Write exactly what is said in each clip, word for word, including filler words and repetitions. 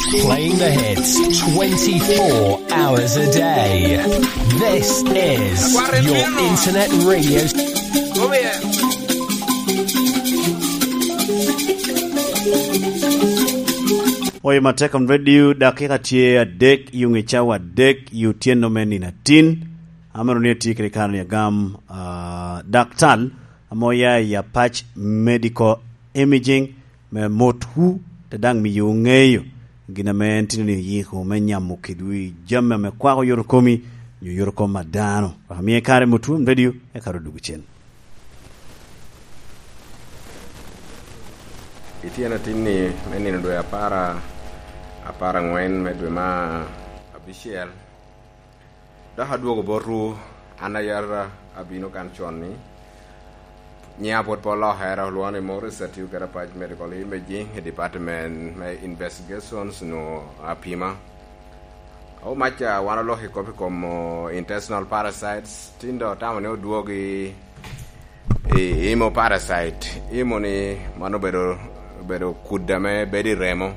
Playing the hits twenty-four hours a day. This is your internet radio. Oyo Matek on Radio, dakika tye adek, yung i cawa adek, i otyeno me nino atin. Amito ni atye kede kare ni agam, ah, daktal ame oya i Apac Medical Imaging me motwu, te daŋ miyo ŋeyo gin ame en tye ni oyiko me nyamo kedwu i jami ame kwako yot okomi, nyo yot okom a dano. Wek amie kare motwu, radio, eka ru dwogo cen. Ityen atinni me nino dwe apar, apar aŋwen me dwe ma abicel, dok adwogo botwu, an ayara abino kan con ni. Nyiŋa pwod pe olokere, olwoŋo ni Morris, atiyo kede Apac Medical Imaging i Department me Investigations, nwo apima. Omaca, wan oloko i kop i kom, o, intestinal parasites, tin doŋ otamo ni odwogi i hemoparasite. Hemo ni mano obedo, obedo kudde ame bedo i remo.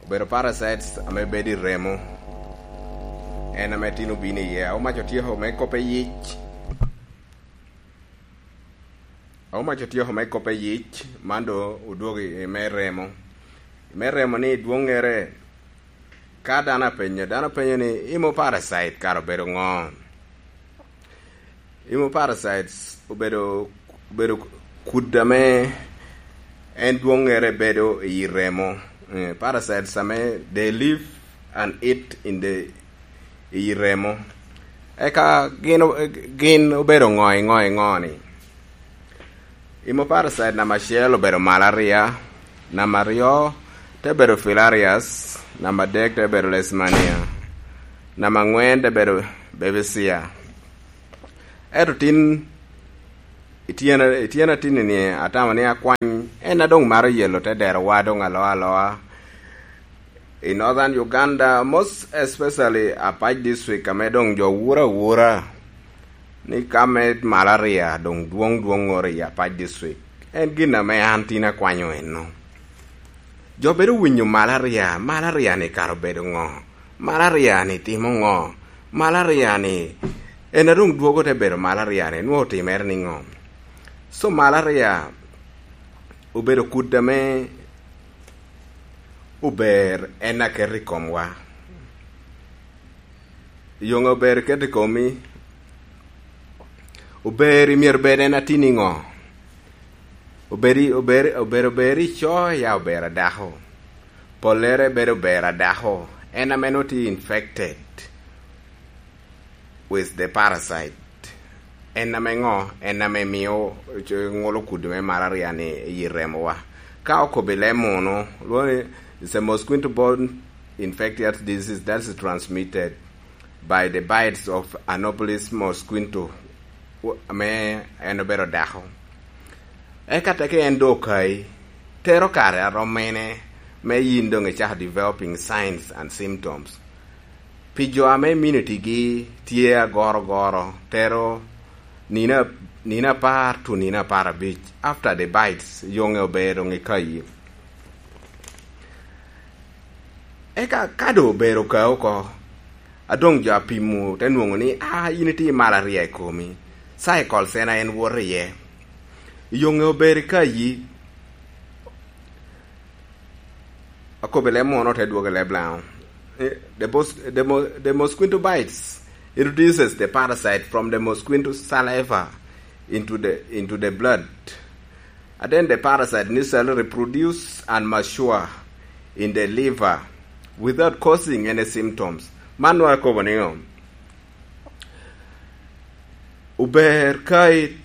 Obedo parasites ame bedo i remo. En ame tin obino iye. Omaca otyeko me kop i yic. Omaca otyeko me kop i yic, man doŋ odwogo i me remo. I me remo ni dwoŋŋere, ka dano apenyo, dano penyo ni, "Hemoparasite kara obedo ŋo?" Hemoparasites obedo, obedo kudde ame en dwoŋŋere bedo i remo. Eh, parasites ame they live and eat in the, i remo. Eka gin o-, gin obedo ŋo i ŋo i ŋo ni? Hemoparasite namba acel obedo malaria, namba aryo te bedo filarias, namba adek te bedo leishmania, namba aŋwen te bedo babesia. Ento tin, i tyena, i tyena tin-ni atamo ni akwany en a doŋ maro yelo te derowa doŋ aloa aloa. I Northern Uganda, most especially Apac District, ame doŋ jo wuro awura ni ka me malaria doŋ dwoŋ dwoŋŋoro i Apac District, en gin ame an tin akwanyo enno. Jo bedo winyo malaria, malaria-ni kara obedo ŋo? Malaria-ni timo ŋo? Malaria-ni, en a doŋ dwogo te bedo malaria-ni, nwoŋo otimere niŋo? So, malaria obedo kudde ame ober en aketo i komwa. Yoŋe ober iketo i komi, ober i myero bed en atin iŋo? Obedi-, ober, ober, ober ico ya ober adako. Pollere bedo ober adako. En ame noti infected with the parasite. En ame ŋo? En ame mio, co-, ŋolo kudi me malaria ni i remowa. Ka okobi leb munu, lwongo ni it's a mosquito borne infectious disease that is transmitted by the bites of Anopheles mosquito, ame en obedo dako. Eka teke en doŋ okayi, tero kare arom mene me yin doŋ icako developing signs and symptoms. Pi jo ame immunity-gi tye agorogoro, tero nino, nino apar to nino apar abic after the bites, yoŋe obedo doŋ ikayi. Eka ka doŋ obedo okayi oko, a doŋ jo apimo te nwoŋo ni, "Ah, in itye i malaria i komi." Cycles en a en woto iye. Yoŋe obedo ikayi. Akobo i leb munu, te dwogo i leb Laŋo. Eh, the mos-, the mo-, the mosquito bites, it reduces the parasite from the mosquito saliva into the, into the blood. And then the parasite initially reproduce and mature in the liver without causing any symptoms. Man nwaŋ akobo niŋo? Ober ka i-,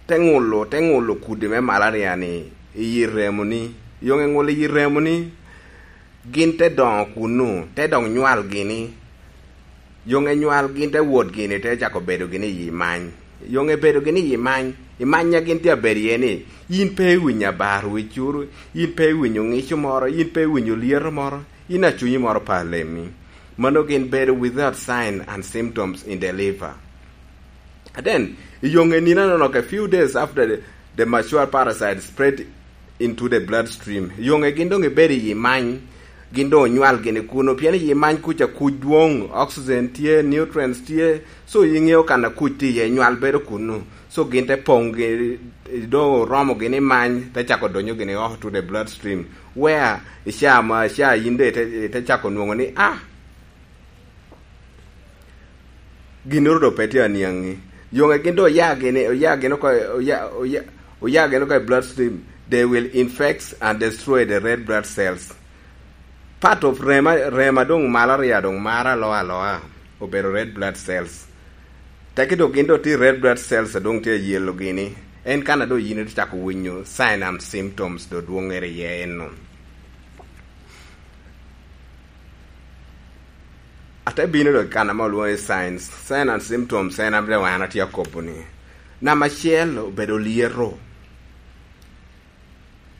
te ŋulo, te ŋulo kudi me malaria-ni i yi remoni. Yoŋe ŋulo i yi remoni, gin te doŋo kunnu, te dok nywal gini. Yoŋe nywal gin te wot gini, te cako bedo gini i yi many. Yoŋe bedo gini i yi many, i many a gin tye abedo iye ni, yin pe iwinyo abar wicuru, yin pe iwinyo ŋico moro, yin pe iwinyo lyeto moro, yin a cunyi moro pe alemmi. Mano gin bedo without sign and symptoms in the liver. And then, i yoŋe nino anono, a few days after the, the mature parasite spread into the bloodstream. Yoŋe gin doŋ ibedo i many, gin doŋ onywal gini kuno, pien i many kuca kuc dwoŋ, oxygen tye, nutrients tye, so iŋeo kan a kuc tye iye, nywal bedo kuno. So gin te poŋ gi, doŋ oromo gini many, te cako donyo gini oko to the bloodstream. Where i caa ma, caa yin de te, te cako nwoŋo ni, ah, ginnoro doŋ pe tye aniaŋi. Yoŋe gin doŋ oya gini, oya gini oko, oya, oya, oya gini oko i bloodstream, they will infect and destroy the red blood cells. Part of rema, rema doŋ malaria doŋ maro aloa aloa, obedo red blood cells. Teki doŋ gin doŋ tye red blood cells a doŋ tye yellow gini. En kan a doŋ yin ite cako winyo sign and symptoms doŋ dwoŋŋere iye eno. Ate bino doŋ i kan ame olwoŋo ni signs, sign and symptoms, en ame doŋ an atye akobo ni. Namba acel obedo lyeto.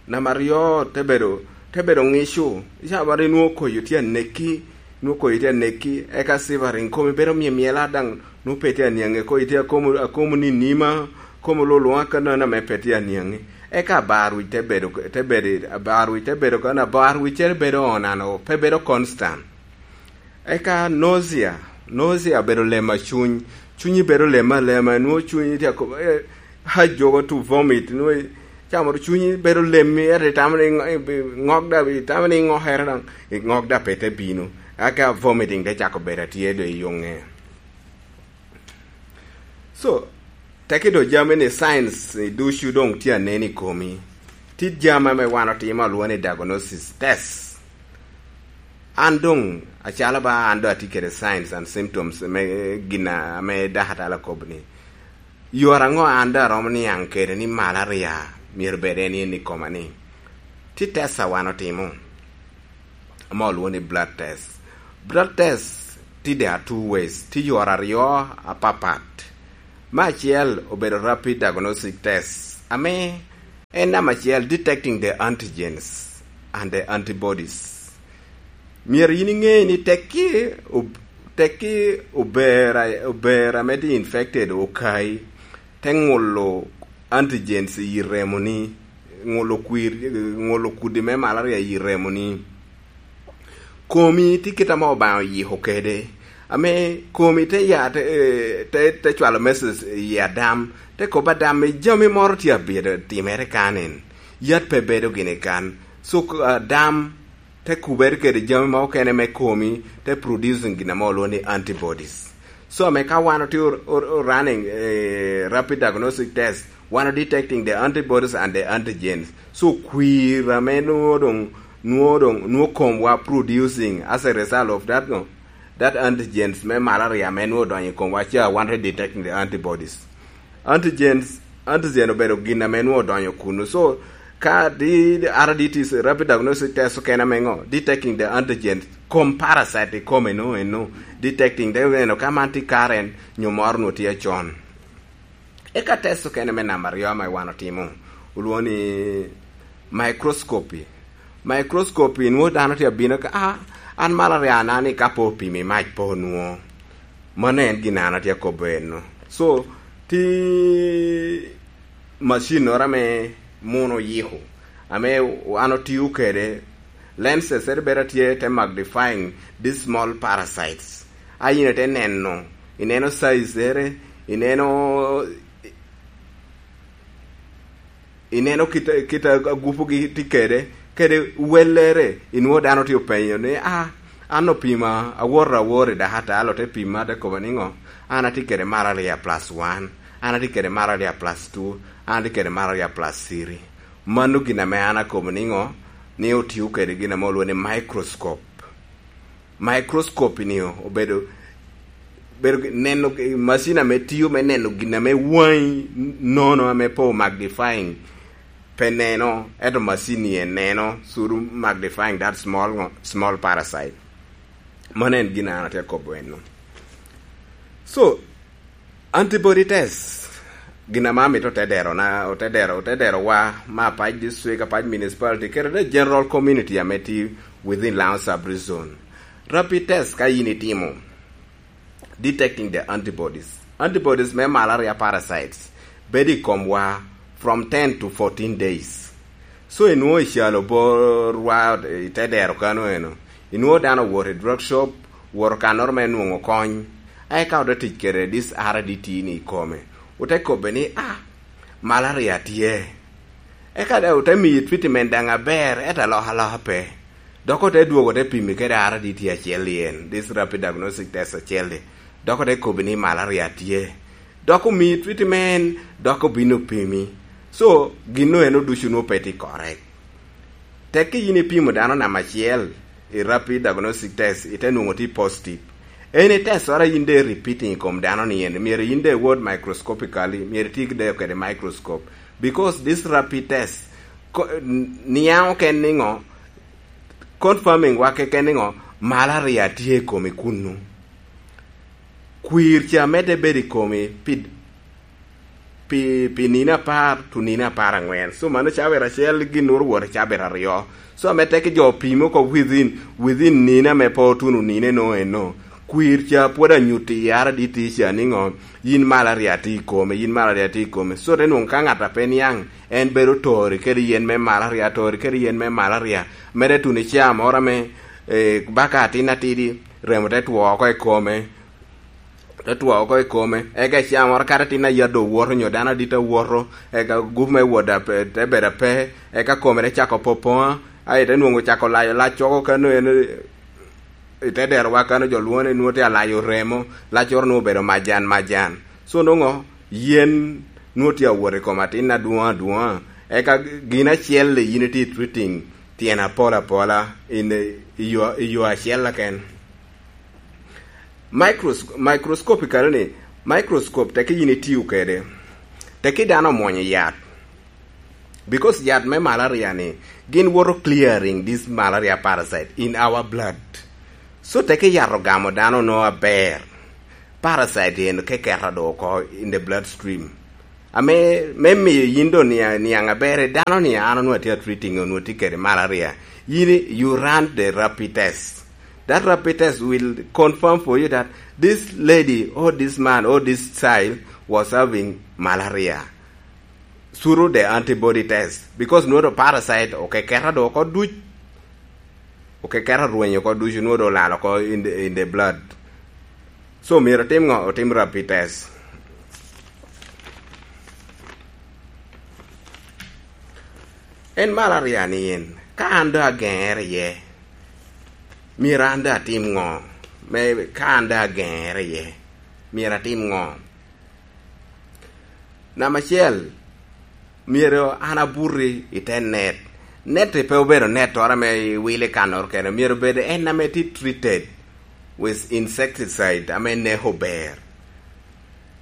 Namba aryo te bedo, te bedo ŋico. Icaa baro inwoŋo koyo tye aneki, inwoŋo koyo tye aneki, eka shivering, komi bedo myemyela daŋ, nwoŋo pe tye aniaŋe, koyo tye akomo, akomo ni nima, komo lulunga ka nono ame pe tye aniaŋe. Eka abar wic te bedo, te bedo, abar wic te bedo, kan abar wic cere bedo onano, pe bedo constant. Eka nausea, nausea bedo lema cuny, cunyi bedo lema alema, nwoŋo cunyi tye ako-, eh, ha jogo to vomit, nwoŋo camoro cunyi bedo lemmi, ento itamo ni ŋo-, ibi-, ŋok da, itamo ni iŋokere daŋ, iŋok da pe te bino. Eka vomiting te cako bedo atye do i yoŋe. So, teki do jami ni science ni ducu doŋ tye anen i komi. Ti jami ame wan otimo alwoŋo ni diagnosis test. An doŋ acalo ba an doŋ atye kede signs and symptoms me gin ame dakatala okobo ni, yore aŋo an doŋ aromo niaŋ kede ni malaria myero bed en en i koma ni? Ti test a wan otimo, ame olwoŋo ni blood test. Blood test ti there are two ways, ti yore aryo apapat. Me acel obedo rapid diagnostic test, ame en namba acel, detecting the antigens and the antibodies. Myero yin iŋe ni tekki ob-, tekki ober a-, ober ame tye infected okayi, te ŋulo antigens i remoni, ŋulo kwir, ŋulo kudi me malaria i remoni. Komi tye kit ame Obaŋa oyiko kede, ame komi te ya, te, eh, te, te cwalo message i Adam, te kobba Adam ni jami moro tye abedo timere kan en, yat pe bedo gini kan. So, Adam te kubere kede jami ma okene me komi, te producing gin ame olwoŋo ni antibodies. So, ame ka wan otye o-, o-, o-, running, eh, rapid diagnostic test, wan o detecting the antibodies and the antigens. So, kwir ame nwoŋo doŋ, nwoŋo doŋ, nwoŋo komwa producing as a result of that, no, that antigens me malaria ame nwoŋo odonyo i komwa ca, wan te detecting the antibodies. Antigens, antigen obedo gin ame nwoŋo odonyo kunu. So, ka di, R D Ts, rapid diagnostic test okene ame ŋo? Detecting the antigen, kom parasite i kome no, eno. Detecting, te neno ka man tye karen, nyo moro nwoŋo tye acon. Eka test okene me namba aryo ame wan otimo, olwoŋo ni microscopy. Microscopy nwoŋo dano tye abino ka, "Ah, an malaria na ni ka pe opimo i mac pe onwoŋo." Mano en gin an atye akobo eno. So, ti macinnoro ame muno oyiko, ame an otio kede, lenses ere bedo atye te magnifying these small parasites. A yin ite neno, ineno size ere, ineno, ineno kit, kit agupugi tye kede, kede wellere, inwoŋo dano tye openyo ni, "Ah, an opima, awoto awor i dakatalo, te pima, te koba ni ŋo? An atye kede malaria plus one, an atye kede malaria plus two, an atye kede malaria plus three." Mano gin ame an akobo ni ŋo? Ni otio kede gin ame olwoŋo ni microscope. Microscope ni obedo, bedo gi-, neno gi-, macin ame tio me neno gin ame waŋi nono ame pe o magnifying, pe neno, ento macin ni en neno, suru magnifying that small ŋo-, small parasite. Mano en gin an atye akobo eno. So, antibody test, gin ame amito otedero na, otedero, otedero wa, ma Apac District, Apac Municipality, kede the general community ame tye within Lango Sub-Region. Rapid test ka yin itimo, detecting the antibodies. Antibodies me malaria parasites bedo i komwa from ten to fourteen days. So inwoŋo i calo borwa i te dero kano eno, inwoŋo dano owoto i drug shop, woto kannoro me nwoŋo kony, a eka ote tic kede this R D T ni i kome, ote kobbe ni, "Ah, malaria tye." Eka daŋ ote miyi treatment daŋ aber, ento alokaloka pe. Dok ote dwogo ote pimi kede R D T acel-li en, this rapid diagnostic test acel-li. Dok ote kobbi ni malaria tye. Dok omiyi treatment, dok obino opimi. So, gin eno ducu nwoŋo pe tye correct. Tekki yin ipimo dano namba acel i rapid diagnostic test, ite nwoŋo tye positive. En i test ora yin de repeating i kom dano ni en, myero yin de iwot microscopically, myero iti de kede microscope. Because this rapid test, ko-, n-, niaŋ oken niŋo, confirming wa keken niŋo, malaria tye i komi kunnu. Kwir ca medde bedo i komi pi, pi, pi nino apar to nino apar aŋwen. So mano cabit acel, gin nwoŋo wot i cabit aryo. So ame tekki jo opimo oko within, within nino ame pe otuno nino eno eno. Kwir ca pwod anyutti i R D T ca niŋo, yin malaria tye i kome, yin malaria tye i kome. So te nwoŋo ka ŋat a pe niaŋ, en bedo tori kede yen me malaria, tori kede yen me malaria. Mere tuno i caa moro ame, eh, baka atin atidi, remo te two oko i kome, te two oko i kome, eka i caa moro kadi atin ayadde owoto, nyo dano adit awoto, eka gup me wot ape, te bedo ape, eka kome te cako popoŋa, aye te nwoŋo cako layo lac oko kano en, i te derowa kano jo lwoŋo ni nwoŋo tye alayo remo, laccoro nwoŋo obedo majan majan. So nwoŋo yen nwoŋo tye awot i kom atin adwoŋ adwoŋa, eka gin acel-li yin itye treating tyen apol apola in i yo, i yo acel keken. Micros-, microscope i kare-ni, microscope tekki yin itiyo kede, tekki dano omwonyo yat. Because yat me malaria ni, gin woto clearing this malaria parasite in our blood. So tekki yat ogamo dano no aber. Parasite en keketa do oko in the bloodstream. Ame, me miyo yin do nia-, niaŋ aber, dano ni an onwoŋo atye treating, onwoŋo tye kede malaria. Yin, you run the rapid test. That rapid test will confirm for you that this lady or this man or this child was having malaria through the antibody test, because nwoŋo parasite okeketa do oko duc, okeketa rweny oko ducu, nwoŋo do olal oko in the, in the blood. So myero otim ŋo? Otim rapid test. En malaria ni en, ka an do ageŋere iye, myero an do atim ŋo? Me, ka an do ageŋere iye, myero atim ŋo? Namba acel, myero an abuti i te net. Net pe obedo nettoro ame iwilo i kannoro kene, myero obed en ame tye treated with insecticide ame neko ber.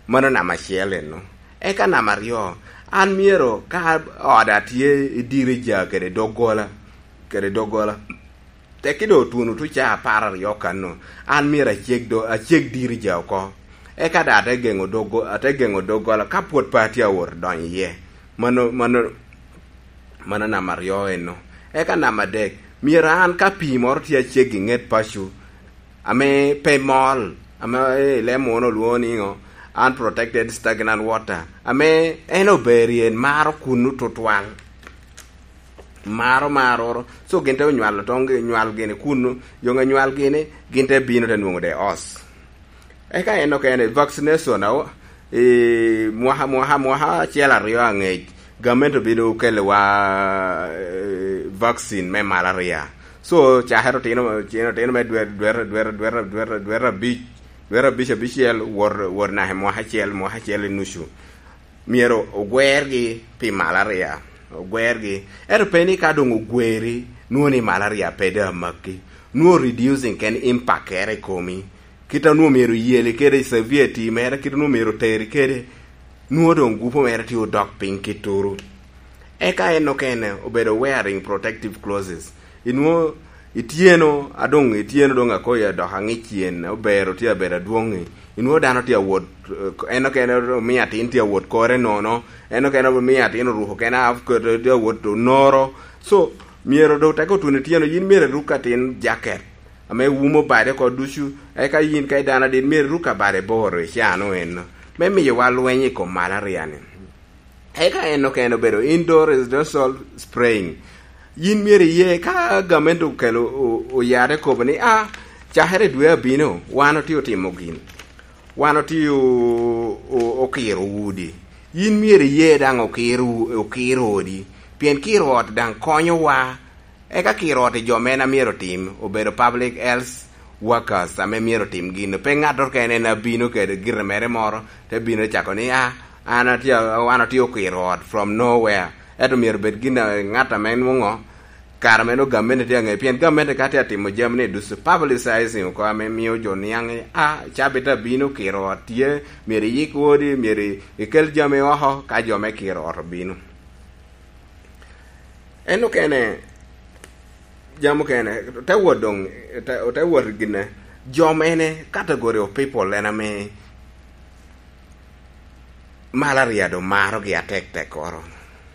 Mano namba acel eno. Eka namba aryo, an myero ka oda tye i dirija kede doggola, kede doggola, tekki doŋ otuno tuca apar aryo kanno, an myero aceg do, aceg dirija oko. Eka daŋ ate geŋo doggo-, ate geŋo doggola ka pwod pe atye awot donyo iye. Mano, mano, mano namba aryo eno. Eka namba adek, myero an ka pii moro tye aceg i ŋet paco, ame pe mol, ame, eh, leb muno olwoŋo ni ŋo, unprotected stagnant water, ame en ober i en maro kunnu tutwal. Maro, maro. So gin te onywalo tong-, nywal gini kunnu, yoŋe nywal gini, gin te bino te nwoŋo de os. Eka en okene, vaccination, awo, i mwaka, mwaka, mwaka acel aryo aŋec, gamente obino kelowa, eh, vaccine me malaria. So, cakere otino, otino, otino me dwe, dwe, dwe, dwe, dwe, dwe, dwe abic, dwe abic, abicel, wot, wot naka i mwaka acel, mwaka acel i nucu. Myero ogwergi pi malaria, ogwergi. Ento pe ni ka doŋ ogweri, nwoŋo ni malaria pe doŋ amakki. Nwoŋo reducing ken impact-ere i komi. Kit a nwoŋo myero oyeli kede i severity mere, kit a nwoŋo myero oteri kede, nwoŋo doŋ gupu mere tye odok piny kitturu. Eka en okene obedo wearing protective clothes. Inwoŋo ityeno, a doŋ ityeno doŋ akoyi adok aŋic cen, ober otye abedo adwoŋ-ŋi. Inwoŋo dano tye awot, eh, en okene omiyo atin tye awot kore nono, en okene omiyo atin oruko kene half coat, tye awot onoro. So, myero doŋ teke otuno ityeno, yin myero iruk atin jacket ame wumo bade oko ducu, eka yin ka i dano adit myero iruk abade boro i caa-nu eno, me miyowa lweny i kom malaria-ni. Eka en okene obedo indoor residential spraying. Yin myero iye ka gamente okelo o- oyare kobo ni, "Ah, cakere dwe abino, wan otye otimo gin. Wan otye o- o- okiro udi." Yin myero iye daŋ okiro, okiro odi, pien kiro ot daŋ konyowa. Eka kiro ot i jo mene a myero otim, obedo public health workers ame myero otim gin. Pe ŋattoro kene en abino kede gire mere moro, te bino cako ni, "Ah, an atye, wan otye okiro ot from nowhere." Ento myero bed gin a ŋat ame nwoŋo kare meno gamente tye aŋe, pien gamente ka tye atimo jami ni ducu, publicizing oko ame mio jo niaŋ ni, "Ah, cabit abino, kiro ot tye, myero iyik odi, myero ikel jami oko ka jo me kiro ot obino." En okene, jam okene, te wot doŋ, te, te wot gine, jo mene, category of people en ame malaria doŋ marogi atek tekkoro.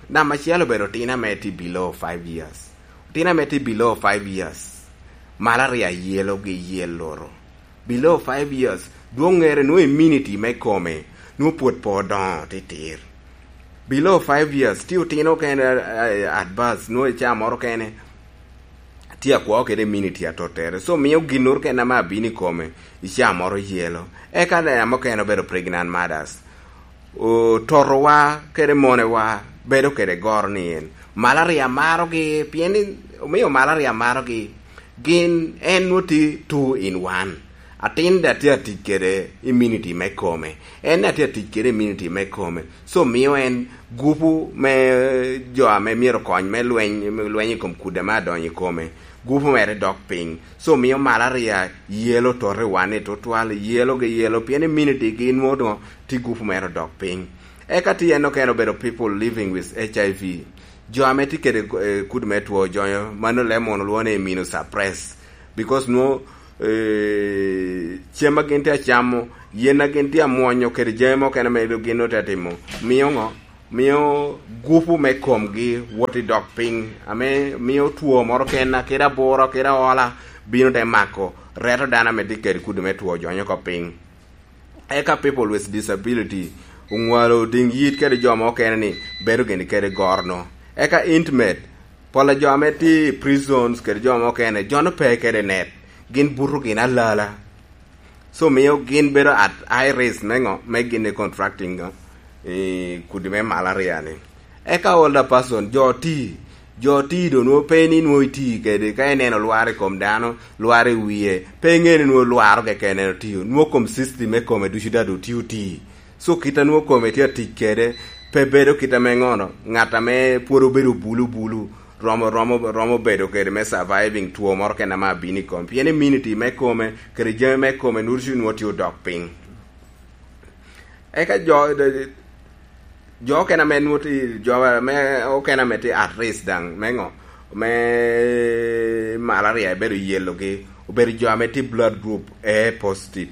Namba acel obedo otino ame tye below five years. Otino ame tye below five years, malaria yelogi yel loro. Below five years, dwoŋ ŋere nwoŋo immunity me kome nwoŋo pwod pe odoŋo titir. Below five years, tye otino kene, eh, at bas, nwoŋo i caa moro kene tye akwo kede immunity atottere. So, mio ginnoro kene ame abino i kome i caa moro yelo. Eka ame okene obedo pregnant mothers. Ototowa kede monewa bedo kede goro ni en malaria marogi, pien ni omio malaria marogi, gin en nwoŋo tye two in one. Atin daŋ tye atic kede immunity me kome, en daŋ tye atic kede immunity me kome, so mio en gupu me jo ame myero kony me lweny, me lweny i kom kudi ame adonyo i kome, gupu mere dok piny. So mio malaria yelo toto i wan ni tutwal, yelo gi yelo, pien immunity gi nwoŋo doŋ tye gupu mere odok piny. Eka tye en okene obedo people living with H I V. Jo ame tye kede, eh, kudi me two jonyo, mano leb munu lwongo ni immunosuppress. Because nwoŋo, eh, cem a gin tye acamo, yen a gin tye amwonyo, kede jami mukene ame gin otye atimo, mio ŋo? Mio gupu me komgi wot i dok piny, ame mio two moro kena, kede abura, kede aola, bino te mako, reto dano ame tye kede kudi me two jonyo oko piny. Eka people with disability oŋwalo diŋ yit kede jo mukene ni bedo gini kede gorono. Eka intimate, pol a jo ame tye i prisons kede jo mukene, jo-nu pe kede net, gin buto gin alala. So mio gin bedo at high risk me ŋo? Me gin i contracting ŋo? I kudi me malaria ni. Eka older person, jo oti, jo oti do nwoŋo pe ni nwoŋo iti kede, ka ineno lwar i kom dano, lwar i wie, pe iŋe ni nwoŋo lwaro keken en otio, nwoŋo kom system me kome ducu daŋ oti oti. So kit a nwoŋo kome tye atic kede, pe bedo kit ame ŋono, ŋat ame pwod obedo bulu bulu, romo, romo, romo bedo kede me surviving two moro kene ame abino i kome. Pien immunity me kome, kede jami me kome, nwoŋo ducu nwoŋo tye odok piny. Eka jo, jo okene ame nwoŋo tye, jo ame okene ame tye at risk daŋ, me ŋo? Me malaria ebedo yelogi, obedo jo ame tye blood group A positive.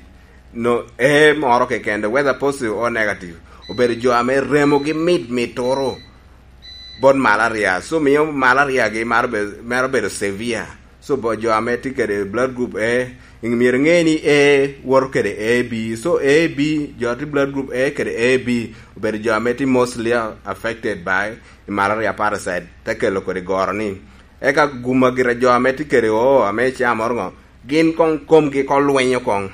No, A moro keken, whether positive or negative, obedo jo ame remogi mit mit turu bot malaria. So mio malaria gi maro be-, mero bedo severe. So bo jo ame tye kede blood group A, myero iŋe ni A woto kede A B. So A B, jo tye blood group A kede A B, obedo jo ame tye mostly affected by malaria parasite, te kelo kodi goro ni. Eka guma gira jo ame tye kede O, ame icamo ŋo, gin koŋ komgi koŋ lwenyo koŋ.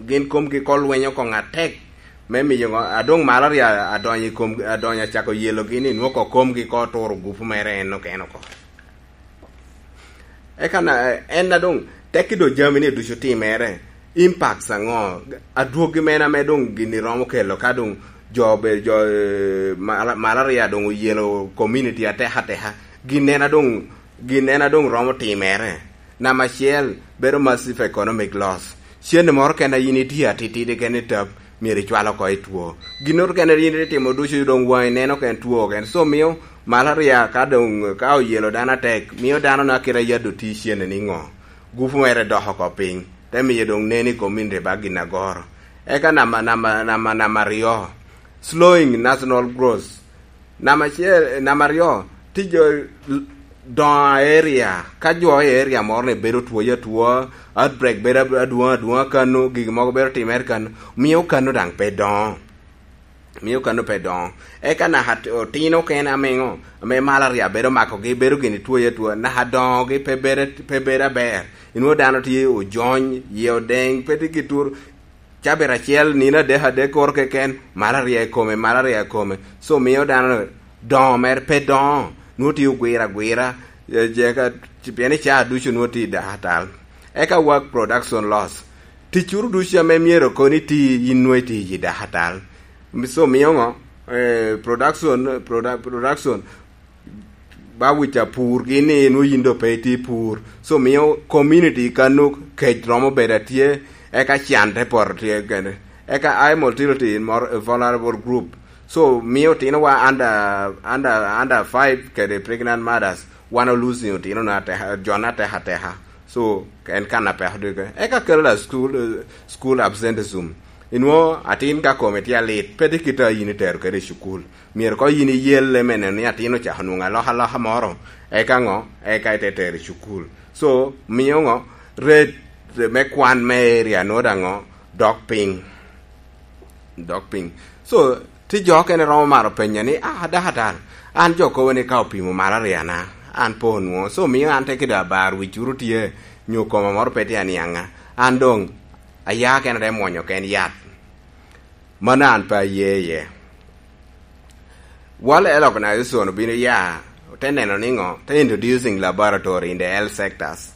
Gin komgi koŋ lwenyo koŋ atek. Me miyo ŋo, adoŋ malaria adonyo i kom, adonyo acako yelogi ni nwoŋo koŋ komgi koŋ turo gupu mere en okene oko. Eka na, en a doŋ tekki doŋ jami ni ducu timere, impacts aŋo? Adwogi mene ame doŋ gini romo kelo ka doŋ jo be, jo, eh, mala-, malaria doŋ oyelo community atek ateka? Gin en a doŋ, gin en a doŋ romo timere? Namba acel, bedo massive economic loss. Cente moro kene a yin itye atitidi kene i tap, myero icwal oko i two. Ginnoro kene yin itimo ducu doŋ waŋi neno kene two kene. So mio malaria ka doŋ, ka oyelo dano atek, mio dano na kite yadde oti cene ni ŋo? Gupu mere dok oko piny. Te miyo doŋ nen i community ba gin agoro. Eka namba, namba, namba, namba aryo, slowing national growth. Namba acel, namba aryo, tye jo l-, doŋo area. Ka jo i area moro ni bedo two atwoa, outbreak bedo ab-, adwoŋ adwoŋa kano, gigi mogo bedo timere kano, mio kano daŋ pe doŋo. Mio kano pe doŋo. Eka naka otino okene amiŋo, ame malaria bedo makogi, bedo gini twoye atwoa, naka doŋogi pe bedo, pe bedo aber. Inwo dano tye ojony, yie odeŋ, pe tye ki tur, cabit acel, nino adek, adek koro keken, malaria i kome, malaria i kome. So mio dano doŋo mere pe doŋo, nwo tye ogwira agwira, eh, je ka, pien i caa ducu nwo tye i dakatal. Eka work production loss. Ticcuru ducu ame myero kono iti, yin nwo iti i dakatal. So mio ŋo? Eh, production, produ-, production, ba wic apur gini nwo yin do pe iti pur. So mio community kanu kec romo bedo atye, eka can te poto tye kene. Eka high mortality in more vulnerable group. So mio otinowa under, under, under five kede pregnant mothers, wan o losing otino na ateka, jo na ateka ateka. So en kan apeko dike. Eka kelo la school, eh, school absenteeism. Inwo atin ka kome tye alit, pe tye kit a yin itero kede i cukul. Myero ko yin iyelle me neno ni atin ocako nwoŋo alokaloka moro, eka ŋo, eka ite tero i cukul. So mio ŋo, rate me kwan me area nwo daŋ ŋo, dok piny. Dok piny. So ti jo okene romo maro penyo ni, "Ah, dakatal, an jo kobo ni ka opimo malaria-na, an pe onwoŋo. So mio an te kede abar wicuru tye, nyo koma moro pe tye aniaŋa. An doŋ aya kena te mwonyo ken yat." Mano an pe aye iye. World Health Organization obino ya, te neno ni ŋo, te introducing laboratory in the health sectors.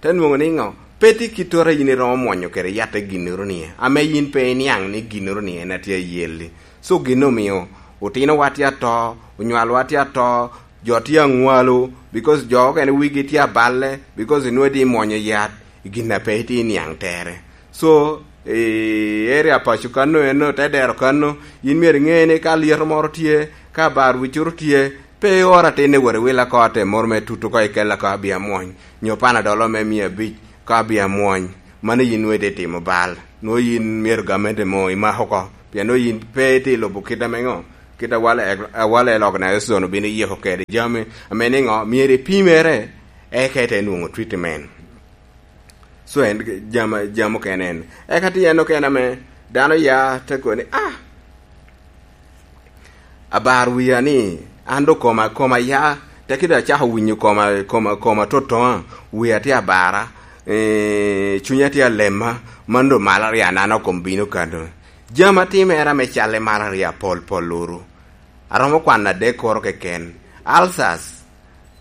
Te nwoŋo ni ŋo, pe tye kit tora yin iromo mwonyo kede yatte ginnoro ni, ame yin pe iniaŋ ni ginnoro ni en atye ayelli. So gin omio otinowa tye ato, onywalwa tye ato, jo tye aŋwalo, because jo okene wigi tye aballe, because inwo itye imwonyo yat i gin a pe itye iniaŋ tere. So, i area paco kano eno, te dero kano, yin myero iŋe ni ka lyeto moro tye, ka bar wicoro tye, pe ior atin i wot iwil ako atem moro me tutu ko ikel ako abia mwony, nyo panadol me mia abic ko abia mwony. Mano yin nwo itye timo bal. Nwo yin myero gamente mo imak oko, pien nwo yin pe itye lubo kit ame ŋo, kit awale, awale lok na Yecu obino yiko kede jami, ame ni ŋo, myero ipimere, eka ite nwoŋo treatment. So en jam, jam okene en. Eka tye en okene ame dano ya te kono ni, "Ah, abar wia ni, an do koma, koma ya, te kede acako winyo koma, koma, koma totoŋa, wia tye abara, eh, cunya tye alema, man do malaria na an okom bino kano." Jam atimere ame calle malaria pol pol luru. Aromo kwano adek koro keken. Ulcers,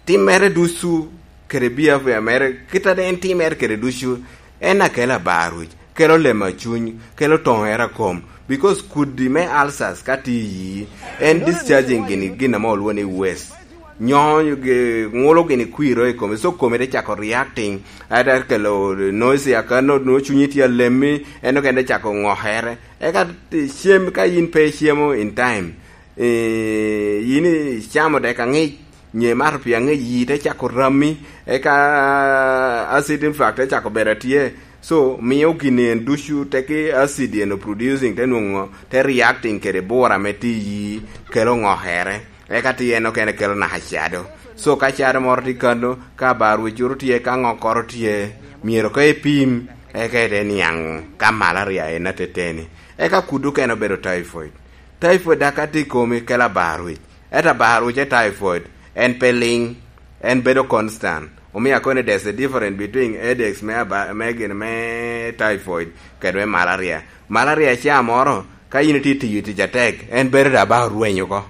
timmere ducu kede behavior mere, kit ade en timmere kede ducu, en akelo abar wic, kelo lemo a cuny, kelo toŋere a kom, because kudi me ulcers ka tye i yi, en discharging gini, gin ame olwongo ni waste. Nyonyo gi-, ŋulo gini kwiro i kome, so kome te cako reacting, ate kelo noise akano, nwo cunyi tye alemmi, en okene te cako ŋokere. Eka cem, ka yin pe icemo in time, eh, yin icamo dek aŋic, nye mato pi aŋic, yi te cako rammi, eka acid reflux te cako bedo atye. So, mio gin en ducu teki acid en producing te nwoŋo, te reacting kede bura ame tye i yi, kelo ŋokere. Eka tye en okene kelo naka cado. So, ka cado moro tye kano, ka bar wicuru tye, ka ŋokkoro tye, myero ka ipim, eka ite niaŋ ka malaria en ateteni. Eka kudu okene obedo typhoid. Typhoid dak ka tye i komi kelo abar wic. Ento abar wic e typhoid, en pe liŋ, en bedo constant. Omio akoni there's a difference between headaches me aba-, me gin me typhoid kede me malaria. Malaria ca moro, ka yin itye tiyo tic atek, en bedo da ba orweny oko.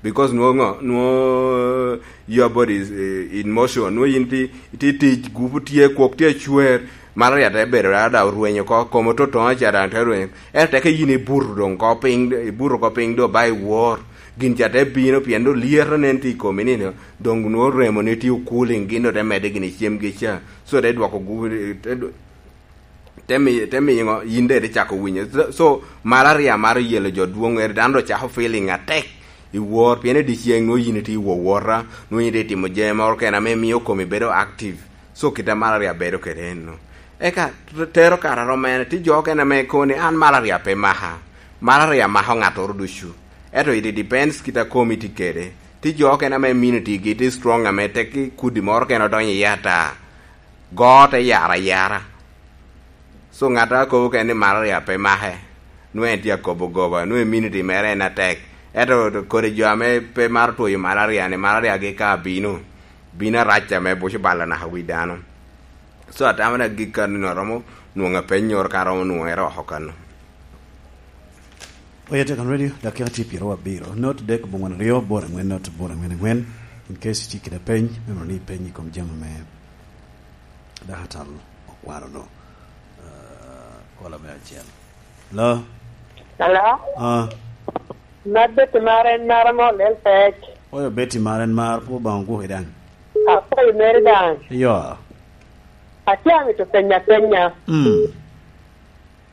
Because nwo ŋo, nwo your body is, eh, in motion. Nwo yin ti, ti tic, gupu tye, kwok tye acwer. Malaria te bedo da, da orwenyo oko, komo totoŋo ca daŋ te rwenyo. Ento teke yin ibuto doŋ ko piny, ibuto ko piny do ba iwor. Gin ca te bino pien do lyeto nen tye i komi ni, doŋ nwo remo ni tye okuling, gin do te medde gini cemgi ca. So te dwoko gupu, te dw-, te mi-, te miyo ŋo, yin de te cako winyo. So, so, malaria maro yelo jo dwoŋ, ere dano do cako feeling atek i wor, pien i dyeceŋ nwo yin itye i wowota, nwo yin itye timo jami moro kene ame mio komi bedo active. So, kit a malaria bedo kede eno. Eka, tero kare arom en, tye jo okene ame kono ni, "An malaria pe maka." Malaria mako ŋattoro ducu. Ento it depends kit a komi tye kede. Tye jo okene ame immunity gi tye strong ame tek ki kudi moro kene odonyo iye ata. Go te yaro ayara. So ŋat a kobo kene ni malaria pe make. nwoŋo en tye akobo goba, nwoŋo immunity mere en atek. Ento kodi jo ame pe maro twoyo malaria-ni, malaria-gi ka bino, bino arac ame buco balo naka wi dano. So, atamo ni agikki kano ni aromo nwoŋo apennyoro ka aromo nwoŋere oko kano. Oya Tekan Radio, dakika tye pyeraryo abiro. Not dek bongwen aryo, bor angwen, not bor angwen angwen. In case itye kede peny, me neno ni ipeny i kom jami me dakatal okwano no. Ah, kola me acel. Hello? Hello? Ah. Mad Betty mar en mar ame olel pec. Oyo Betty mar en mar, pwod Obaŋa ogwoki daŋ. Akwayo meri daŋ. Yo. Atye amito penyo apenya. Mm.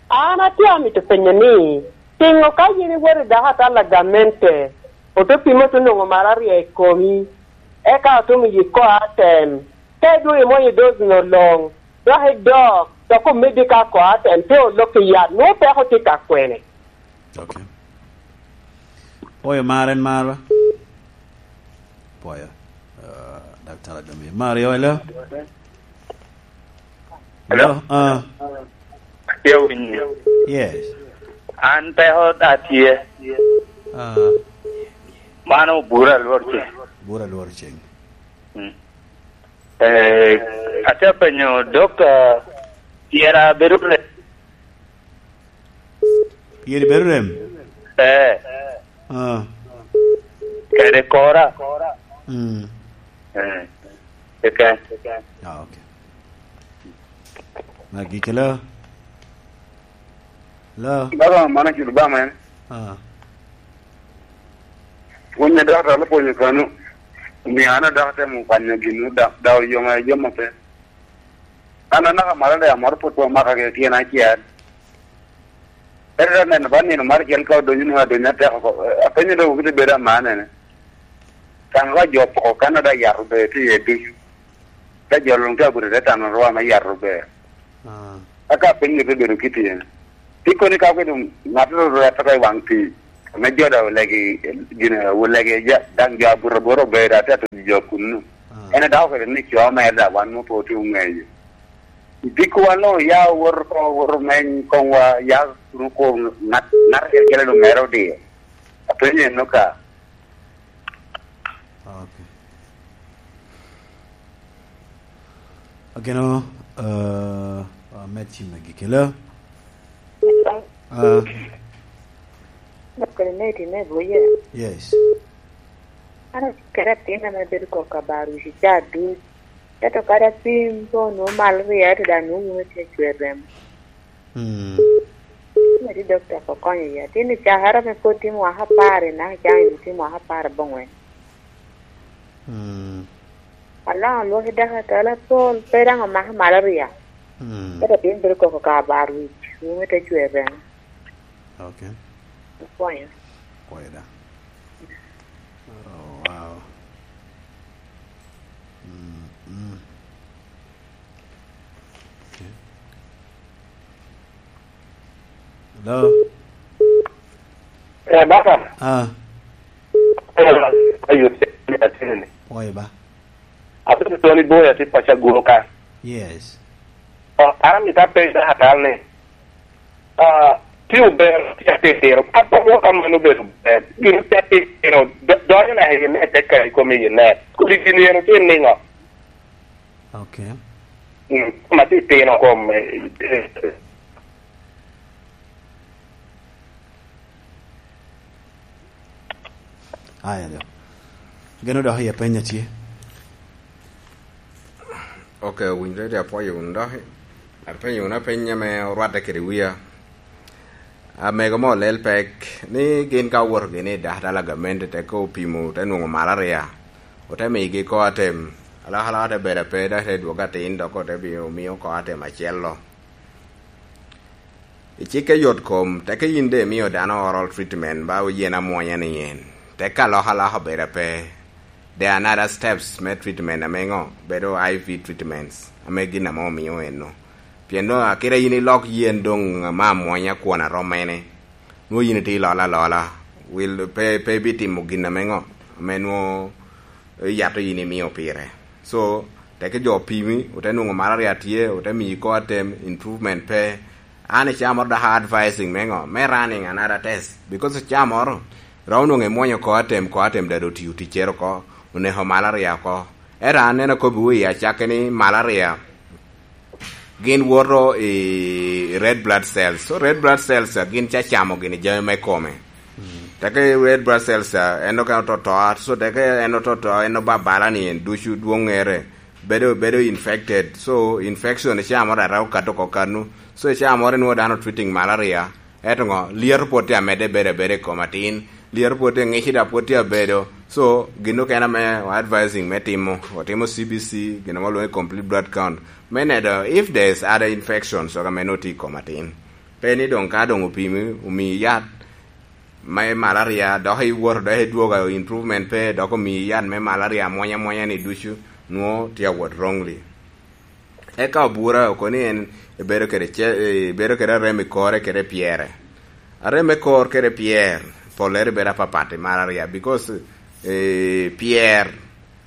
An atye amito penyo ni, piŋo ka yin iwoto i dakatal a gamente, ote pimo te nwoŋo malaria i komi, eka otum yik ko atem, ka idwogo imwonyo doz-nu luŋ, dok idok, dok omeddi ka ko atem, pe olok i yat, nwoŋo peko tye ka kwene? Ok. Pwoyo mar en mar ba? Pwoyo. Ah, Daktar Adongi. Mario, hello? Hello? Hello? Ah. Atye winyi. Yes. An peko da tye. Ah. Mano bura lwor ceng. Bura lwor ceng. Mm. Eh, atye penyo, Dokta, tyer abedo re- Tyer ibedo rem? Eh. Ah. Kede kora. Mm. Eh. Keken. Ah, ok. Magi kelo. Hello? Baba, mano culo ba men. Ah. Pwony a dakatar opwonyo kano. Omio an adok atemo kwanyo gin da, da oyoma, yoma pe. An anaka malo da amoro pwod pe omaka kede tyen acel. Ento da neno ba nino mar cel ka odonyo nwoŋo adonyo atek oko. Apenyo dok kite bedo amanene. Kan ka jo poko kan da yat obedo tye iye ducu. Ka jo luŋ tye abuto te tano rwa me yat obedo. Ah. Aka piny ni pe bedo kit en. Pi koni ka obedo ŋat ru rwet oko i waŋ pii, ame jo da olegi, gin, olegi ja, daŋ jo abuto abota obedo atye atuco jo kunnu. Ah. En adako kede ni co mere da wan mo pe otye oŋeyo. Dikko wan luŋ oya owoto oko, owoto omeny koŋwa, ya kun okur ŋat, ŋat acel acel luŋ mere odiyo. Apenyo en no ka. Ok. Ageno, eh, amed cim me gikela. Ah. Dokta, me time buye. Yes. An kede atin ame bedo koko abar wic ca duc. Ento kadi apim pe onwoŋo malo ryeo, ento dok nwoŋo wun otye acwer remo. Mm. Meri dokta, ko konyo ya. Tin i cakere ame pwod timo mwaka apar, i naka caŋ itimo mwaka apar abongwen. Mm. Alongo lwaki daka tala pol, pe daŋ omako malaria. Mm. Ento tin bedo koko ka abar wic, wun ite cwer remo. Ok. Okwanyo. Kwayo da. Oh, wow. Mm, mm. Ok. Hello? Eh, baba. Ah. Eh, ayo, ayo, ayo. Oye ba. Abedo Tony Boy, atye paco Agulu ka. Yes. Oh, an amito apenyo dakatal ni, ah, tye ober, tye atitino. Ka pe wok kamano obedo ber. Gin tye atitino, do-, donyo naka i net, te ka i kome i net. Kodi gin eno tye niŋo? Ok. Mm, ma titino kom, eh, eh, Aya, jo. Geno dok i apenya tye. Ok, owinjore ri apwoyo wunu dok. Apenyo wunu apenya me orwatte kede wia. Amego mo olel pek ni gin ka owoto gini i dakatal a gamente te ko opimo te nwoŋo malaria. Ote migi ko atem. Alokaloka te bedo ape, dok te dwogo atin, dok ote bi-, omio ko atem acel-lo. I cikke yot kom, teke yin de imio dano oral treatment ba oyen amwonya ni en. Teke alokaloka obedo ape. There are another steps me treatment ame ŋo? Bedo I V treatments, ame gin ame omio eno. Pien nwoŋo akite yin ilok yen doŋ ma amwonya kwon arom mene, nwoŋo yin itye ilolo alola. Wil pe, pe ibitimo gin ame ŋo? Ame nwoŋo iyato yin imio pire. So, teke jo opimi, ote nwoŋo malaria tye, ote miyi ko atem, improvement pe, An i caa moro dok advising me ŋo? Me running another test. Because caa moro, romo nwoŋo imwonyo ko atem, ko atem dado otiyo ticcere oko, oneko malaria oko. Ento an neno kobbiwu i acakke ni malaria gin woto i red blood cells. So red blood cells a gin ca camo gini jami me kome. Teke red blood cells a en okene ototo, so teke en ototo, en obabala ni en ducu dwoŋŋere, bedo, bedo infected. So infection i caa moro dok okato oko kanu. So i caa moro inwoŋo dano treating malaria, eto ŋo, lyeto pwod tye amedde bedo abeda i kom atin, lyeto pwod tye, ŋici dok pwod tye abedo. So gin okene ame advising me timo, otimo C B C, gin ame olwongo ni complete blood count, me nedo if there is other infections oko ame nwoŋo tye i kom atin. Pe ni doŋ ka doŋ opimi, omiyi yat me malaria, dok iwoto, dok idwogo, improvement pe, dok omiyi yat me malaria amwonya amwonya ni ducu, nwoŋo tye awot wrongly. Eka obura okoni en ebedo kede ce-, ebedo kede arem i kore kede pyere. Arem me kor kede pyer, pollere bedo apapat i malaria, because, eh, pyer,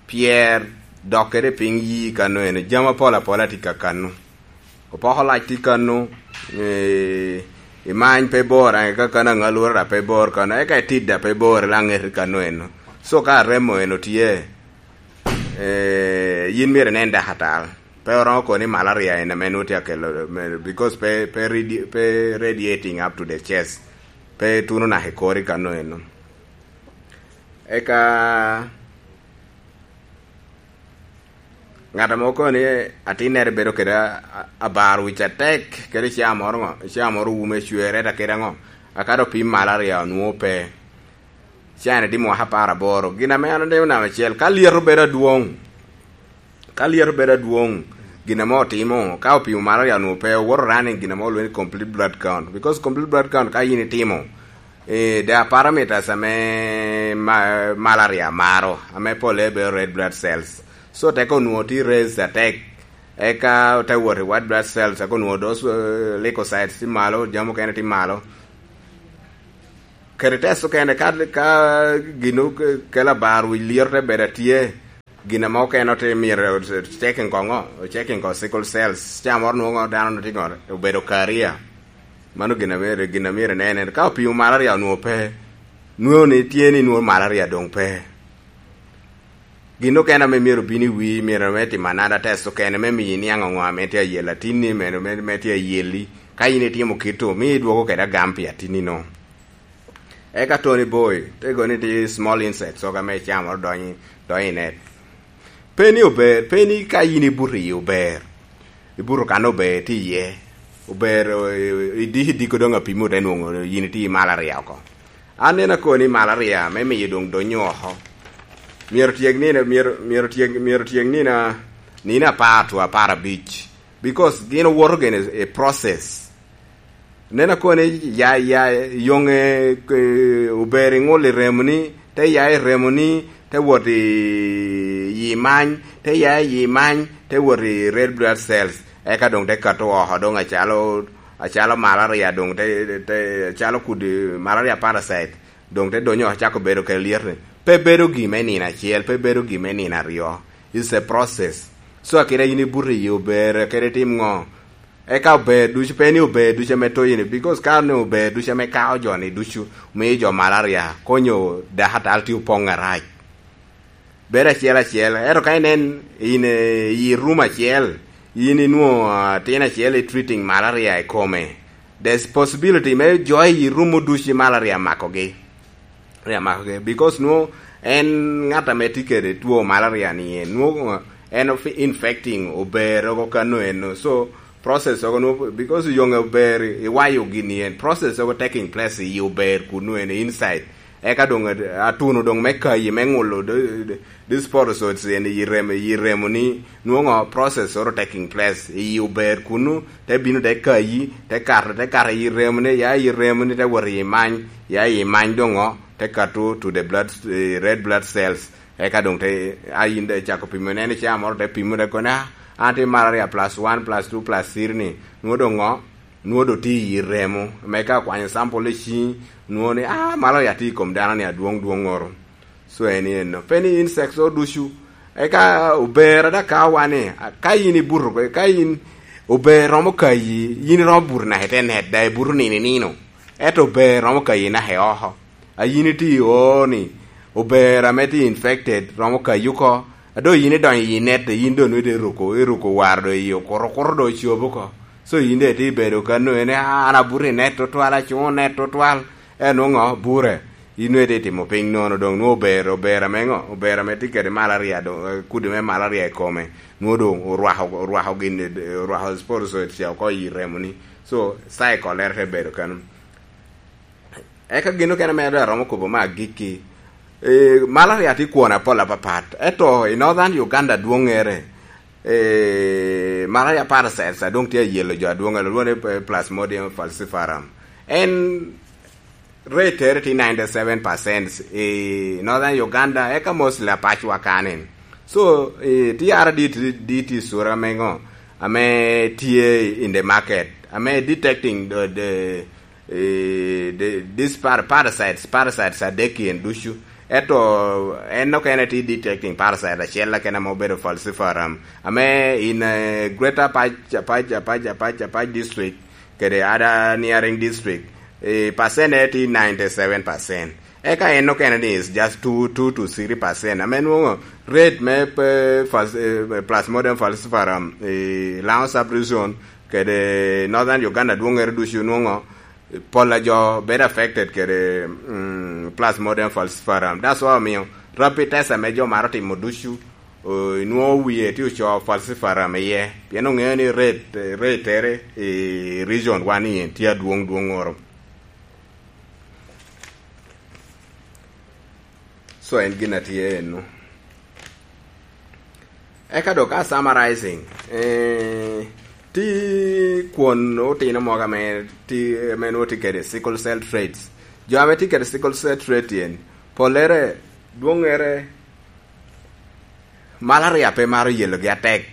pyer dok kede piny yi kano eno, jami apol apola tye ka kano. Opoko lac tye kano, eh, imany pe bor, eh, ka kano aŋalura dok pe bor kano, eka itid dok pe bor, ila ŋet kano eno. So ka aremo eno tye, eh, yin myero inen daktar. Pe oromo kono ni malaria en ame nwoŋo tye akelo, me-, because pe, pe radi-, pe radiating up to the chest. Pe tuno naka i kori kano eno. Eka ŋat ame okono ni atinnere bedo kede a-, a-, abar wic atek, kede caa moro ŋo, caa moro wume cwere, ata kede aŋo, akato pim malaria onwoŋo pe. Caa-ni tye mwaka apar aboro. Gin ame an atimo namba acel, ka lyeto bedo adwoŋ, ka lyeto bedo adwoŋ, gin ame otimo, ka opimo malaria onwoŋo pe, owoto running gin ame olwongo ni complete blood count. Because complete blood count ka yin itimo, eh, there are parameters ame ma-, malaria maro, ame pole bedo red blood cells. So teko onwoŋo tye raised atek, eka te wot i white blood cells, eka onwoŋo dose, eh, leukocytes tye malo, jami okene tye malo. Kede test okene, ka, ka gin oke-, kelo abar wic lyeto te bedo atye, gin ame okene ote myero checking koŋo, checking ko sickle cells, caa moro nwoŋo dano tye ŋo, obedo career. Mano gin ame, gin ame myero inen, ka opimo malaria onwoŋo pe, nwoŋo ni tye ni nwoŋo malaria doŋ pe. Gin okene ame myero obin i wii, myero me timo another test okene me miyo iniaŋ ŋo ame tye ayel atinni, me, me, me tye ayeli. Ka in itimo kito, miyo idwoko kede agam pi atinni no. Eka Tony Boy, te go ni tye small insects, oga me cam oro donyo, donyo i net. Pe ni ober, pe ni ka in ibuto iyi ober. Ibuto kan ober tye iye. Ober, eh, idiko, idiko doŋ apimo te nwoŋo yin itye i malaria oko. An neno akoni malaria me miyo doŋ donyo oko. Myero tyek nino, myero, myero tyek, myero tyek nino, nino apar to apar abic. Because gin owoto gene i process. Neno akoni ya, ya, yoŋe, eh, ober iŋulo i remoni, te ya i remoni, te wot i, i many, te ya i many, te wot i red blood cells. Eka doŋ te kato oko, doŋ acalo, acalo malaria, doŋ te, te, acalo kudi malaria parasite. Doŋ te donyo acako bedo kede lyet-ti. Pe bedo gin me nino acel, pe bedo gin me nino aryo. It's a process. So, akita in ibuto iyi ober, kede tim ŋo? Eka ober ducu, pe ni ober ducu ame toyi ni, because ka ni ober ducu ame kao jo ni ducu, miyo jo malaria, konyo dakatal tye opoŋ arac. Bedo acel acel, ento ka inen in, eh, i room acel, in inwoŋo, ah, tin acel i treating malaria i kome. There's possibility me jo i room ducu malaria makogi. Malaria makogi. Because nwoŋo en ŋat ame tye kede two malaria ni en, nwoŋo en of-, infecting ober oko kano eno. So, process oko nwoŋo, because yoŋe ober, iwayo gini en. Process oko taking place i ober kunu en inside. Eka doŋ at-, atuno doŋ me kayi, me ŋulo, the, the, the sporozoites en i remo, i remoni, nwoŋo process oro taking place, iyi ober kunu, te bino te kayi, te kato, te kato iyi remoni, ya iyi remoni, te wot iyi many, ya iyi many doŋo, te kato to the blood, eh, red blood cells. Eka doŋ te, a yin de cako pimo, ineno caa moro te pimo, te koni, "Ah, an tye malaria plus one, plus two, plus three ni." Nwoŋo doŋo, nwoŋo doŋ tye iyi remo. Me ka kwanyo sample i ciŋi, nwoŋo ni, "Ah, malaria tye i kom dano ni adwoŋ dwoŋ oro." So, en eno. Pe ni insects o ducu. Eka ober ada ka wan ni, ka in ibuto, ka in Ober romo kayi, yin iromo buto naka i te net, daŋ ibuto nino i nino. Ento ober romo kayi naka i oko. A yin itye i oo ni, ober ame tye infected romo kayi oko. A doŋ yin idonyo i net, yin doŋ nwoŋo iruko, iruko waro doŋ i okuto, okuto doŋ ocobo oko. So yin doŋ itye bedo ka nwoŋo ni, "Ah, an abuto i net tutwal, acuŋo net tutwal." En nwoŋo bure. In nwoŋo itye timo piny nono, doŋ nwoŋo ober, ober ame ŋo? Ober ame tye kede malaria, doŋ, eh, kudi me malaria i kome. Nwoŋo doŋ orwako, orwako gin, orwako sporozoite ca oko i remoni. So, cycle-lere te bedo kano. Eka gin okene ame doŋ aromo kobo me agikki. Eh, malaria tye kwon apol apapat. Ento i Northern Uganda dwoŋŋere, eh, malaria parasites a doŋ tye ayelo jo adwoŋ, lwonge ni, eh, Plasmodium falciparum. En rate tere tye ninety-seven percent i Northern Uganda, eka mostly apacwa kanen. So, eh, T R D T, D T sura ame ŋo, ame tye in the market, ame detecting the, the, eh, the, these par-, parasites, parasites adek en ducu. Ento en okene tye detecting parasite acel akene ame obedo falciparum, ame in, eh, Greater Apac, Apac, Apac, Apac, Apac District, kede other neighboring district, eh, percent ne tye ninety-seven percent. Eka en okene ni is just two, two to three percent. Ame nwoŋo rate me pe-, fas-, eh, Plasmodium falciparum, eh, Lango sub-region, kede Northern Uganda dwoŋŋere ducu nwoŋo, eh, pol a jo bedo affected kede, mm, Plasmodium falciparum. That's why omiyo rapid test ame jo maro timo ducu, o, inwoŋo wie tye ocoo falciparum iye, pien oŋeo ni rate, rate tere i region wa ni en tye adwoŋ dwoŋŋoro. So en gin a tye eno. Eka dok ka summarizing, eh, tye kwon otino mogo ame tye, ame nwoŋo tye kede sickle cell traits. Jo ame tye kede sickle cell trait en, pollere, dwoŋŋere, malaria pe maro yelogi atek,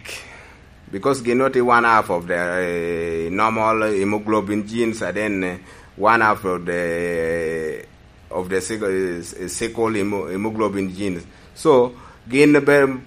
because gin nwoŋo tye one half of the, eh, normal hemoglobin genes, and then, eh, one half of the, of the sickle, eh, sickle hemo-, hemoglobin genes. So, gin be